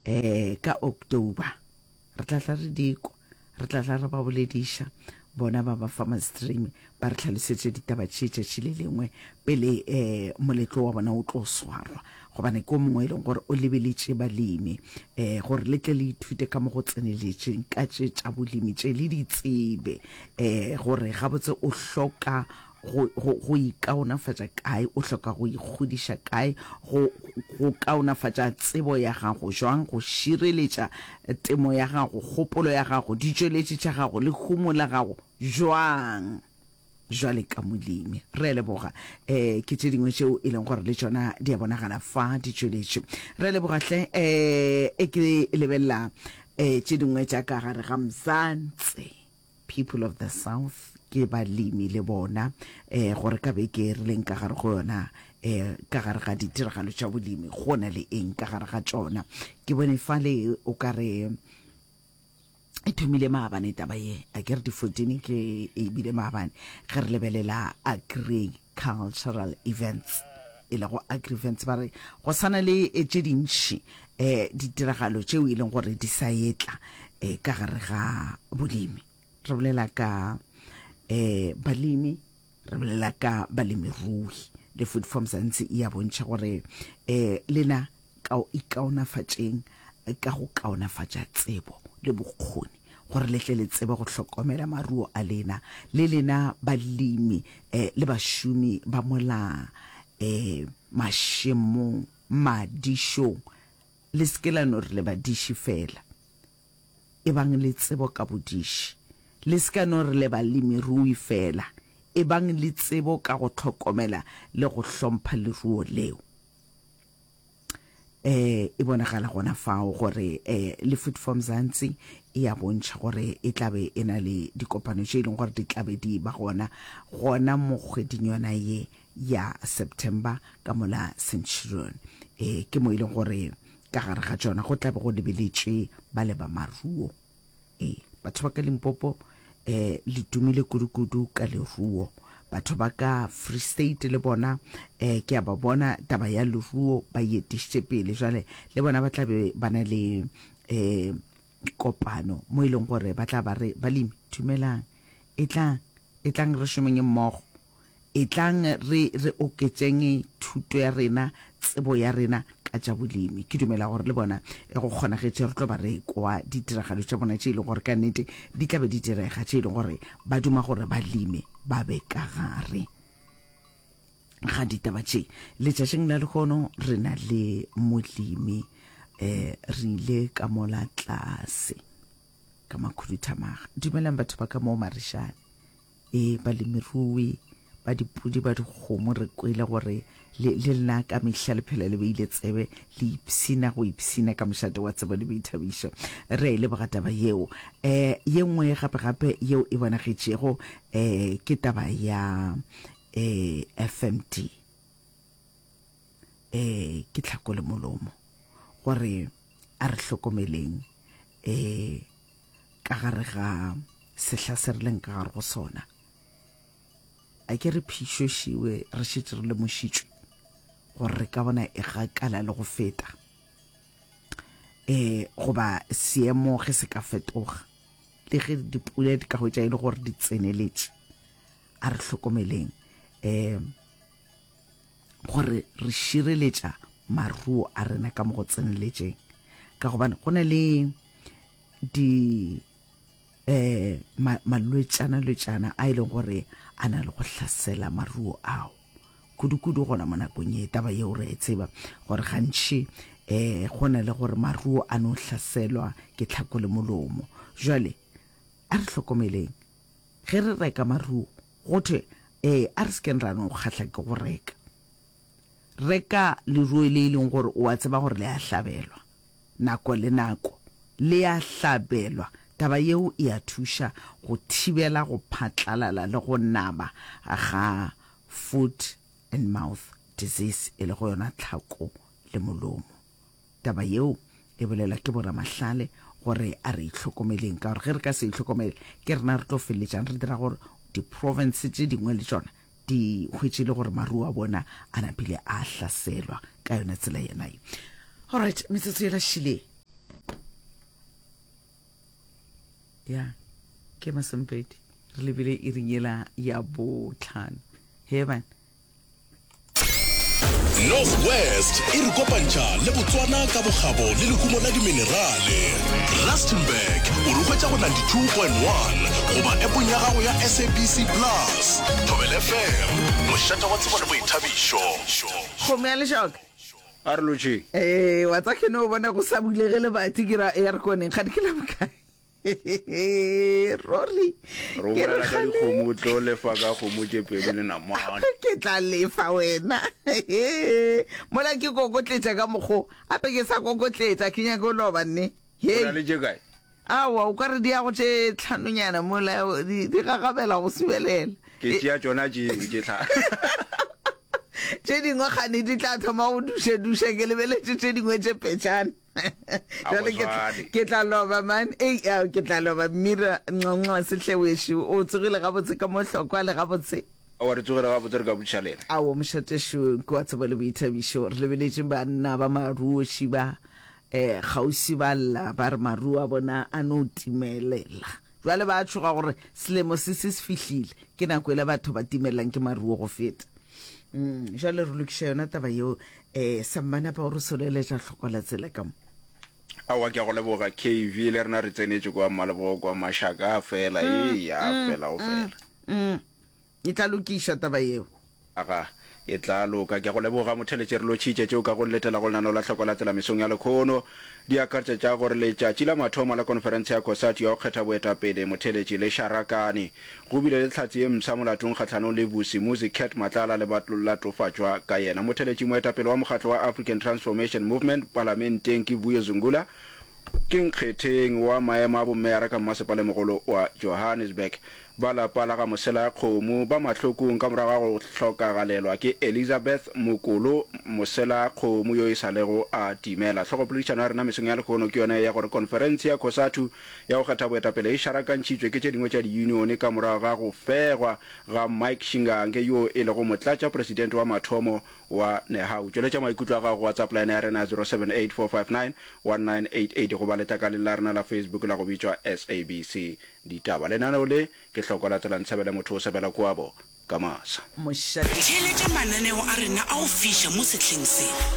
Um ka October re tla tla re di kwa, re tla tla re ba bolediša bona ba ba Farmers Dream ba re hlalosetše ditaba tše tšatši le lengwe pele um moletlo wa bona o tlo swarwa, gobane ke o mongwe e leng gore o lebeletše balemi um gore le tle le ithute ka mo go tseneletšeng ka tše tša bolemi tše le di tsebe um gore gabotse o hloka go, go, go ikaonafatša kae, o hloka go ikgodiša kae, go, go kaonafatša tsebo ya gago jwang, go šireletša temo ya gago, kgopolo ya gago, ditšweletši tša gago, lehumo la gago jwang jwale ka molemi. Re a leboga. Um ke tše dingwe tšeo e leng gore le tšona di a bonagala fa di tšweletše. Re a leboga hle. Um e ke lebelela um tše dingwe tša ka gare ga Mzansi. People of the South ke balemi le bona eh gore ka beke re leng ka gare go yona eh ka gare ga ditiragalo tša bolemi go na le eng ka gare ga tšona. Ke bone fale o ka re e thomile maabane taba ye, a ke re di 14 ke e bile maabane ge re lebelela agricultural events e lego agri-events ba re go sana le tše dintši um ditiragalo tšeo e leng gore di sa etla um ka gare ga bolemi. Re bolela ka um balemi, re bolela ka balemirui le Food Farm Mzansi e a bontšha gore um lena ka ikaonafatšeng ka go kaonafatša tsebo le bokgoni gore le tle le tsebe go hlokomela maruo a lena le lena balemi um le bašomi ba mola um mašemong madišong. Le se ke la no re le badiši feela. Ebang le tsebo ka bodiši. Le se ka no re le balemirui feela. Ebang le tsebo ka go hlokomela le go hlompha leruo leo. E, e bonagala gona fao gore e, le Food for Mzansi e a bontšha gore e tla be e na le dikopano tše e leng gore di tla be di ba gona gona mo kgweding yona ye ya September ka mola Centurion. E, ke mo e leng gore ka gare ga tšona go tla be go lebeletšwe ba le ba maruo. E, batho ba ka Limpopo e, le tumile kudu-kudu ka leruo. Batho ba ka Free State le bona e, ke a ba bona taba ya leruo ba e etišitše pele. Jwale le bona ba tla be ba na le e, kopano mo e leng gore ba tla ba re balemi dumelang, etlang, etlang re šomeng mmogo. Etlang re, re oketšeng thuto ya rena, tsebo ya rena ka tša bolemi. Ke dumela gore le bona e go kgonagetše re tlo ba re kwa ditiragalo tša bona tše e leng gore ka nnete di tla be di direga, tše e leng gore ba duma gore balemi ba be ka gare ga ditaba tše. Letšatšing la lehono re na le molemi, um re ile ka mola tlase ka makhuduthamaga. Dumelang batho ba ka moo Marishane. Ee, balemirui ba dipudi ba dikgomo re kwele gore le, le lena ka mehla le phela le beile tsebe le ipshina go ipshina ka mošate wa tsebo le boithabišo. Re a e leboga taba yeo. Um ye nngwe gape-gape yeo e bonagetšego um ke taba ya um FMD. Um ke tlhako le molomo gore a re hlokomeleng um ka gare ga sehla se re leng ka gare go sona. A ke re phišošiwe re šetše re lemošitšwe gore re ka bona e gakala le go feta. E, goba seemo ge se ka fetoga, le ge dipula di ka hwetša e le gore di tseneletše, a re hlokomeleng um gore re šireletša maruo a rena ka mo go tseneletšeng, ka gobane go na le di eh malwetšana lwetšana a e leng gore a na le go hlasela maruo ao kudu-kudu gona mo nakong ye. Taba yeo re e tseba gore gantši eh go na le gore maruo a no hlaselwa ke tlhako le molomo. Jwale a re hlokomeleng ge re reka maruo, go thwe eh a re se keng ra no kgahla ke go reka. Reka leruo le e leng gore o a tseba gore le a hlabelwa nako le nako. Le a hlabelwa. Taba yeo e a thuša go thibela go phatlalala le go naba ga foot and mouth disease, e lego yona tlhako le molomo. Taba yeo e bolelwa ke boramahlale gore a re itlhokomeleng, ka gore ge re ka se itlhokomele ke rena re tlo feleletšang re dira gore diprovince tše dingwe le tšona di hwetše le gore maruo a bona a napile a hlaselwa ka yona tsela yena ye. Alright, metsotso yela šile. Ya, ke masomepedi. Re lebile iring yela ya botlhano. He bana. North West e re kopantšha le Botswana ka bokgabo le lehumo la diminerale. Rustenburg o re hwetša go 92.1 goba appong ya gago ya SABC Plus. Thobela FM, mošate wa tsebo le boithabišo. Kgomo ya lešoka. A re lotšheng. Ee, wa tsa ke no bona go sa bulege lebati ke ra ya re koneng ga di ke la bokae. Ruri. Re o Ke re bolela ka kgale. dikgomo o tlo lefa ka kgomo tše pedi le namane. Ke tla lefa wena. Mola ke kokotletša ka mokgo. Ape ke sa kokotletša ke nyake go loba nne. O Hei. na le tše kae? Aowa o ka re di ya go tše tlhanonyana mola di di gagabela go subelela. Ke tšea tšona tšeo tše tlhano. Tše dingwe kgane di tla thoma go duša-duša ke lebeletše tše dingwe tše petšana. A go Jwale ke tla swane. ke tla loba man. Ei ao ke tla loba Mmira Nxonxo Sehlewešo o tsogile gabotse ka mo hlokwa le gabotse. Aowa re tsogile gabotse re ka botšiša lena. Aowa mošatešo ke wa tsebo le boithabišo. Re lebeletše banna ba maruoši ba um kgauswi ba lla ba re maruo a bona a no timelela. Jwale ba tšhoga gore selemo se se se fihlile ke nako ela batho ba timelelang ke maruo go feta. Mm, jwale re lokiša yona taba yeo um sammanapa o re soleletša hloko la tsela ka mo. Aowa ke a go leboga KV le rena re tsenetše kwa Mmalebogo kwa Mashaka a fela ee a fela go fela. Mm, e tla lokišwa taba yeo. Aga, e tla loka. Ke a go leboga motheletše re lotšhitše tšeo ka go letela go lenaneo la Hloko la Tsela mesong ya lekhono. Di akaretša tša gore letšatši la mathomo la konferense ya COSATU ya go kgetha boetapele motheletši le šarakane. Go bile le tlhatse ye mpsha molatong kgahlanong le Vusimuzi Cat Matlala le batlolatofatšwa ka yena. Motheletši moetapele wa mokgatlo wa African Transformation Movement palamenteng ke Vuyo Zungula Ke nkgetheng wa maemo a bommeyara ka mmasepalemogolo wa Johannesburg. Ba lapa la ga Moselakgomo ba mahlokong ka morago ga go hlokagalelwa ke Elizabeth Mokolo Moselakgomo yo e sa lego a timela. Hlogopoledišano ya rena mesong ya lehono ke yona ye ya gore konferense ya COSATU ya go kgetha boetapele e šarakantšhitšwe ke tše dingwe tša diyunione ka morago ga go fegwa ga Mike Shingange yo e lego motlatšapresidente wa mathomo wa Nehawu. Tšweletša maikutlo a gago go WhatsApp line ya rena ya 0784591988 goba letlakaleng la rena la Facebook la go bitšwa SABC Ditaba. Lenaneo le ke Hloko la Tsela Ntshebele Motho o sebela koabo ka masa. Mošate. Theeletša mananeo a rena a go fiša mo sehleng se.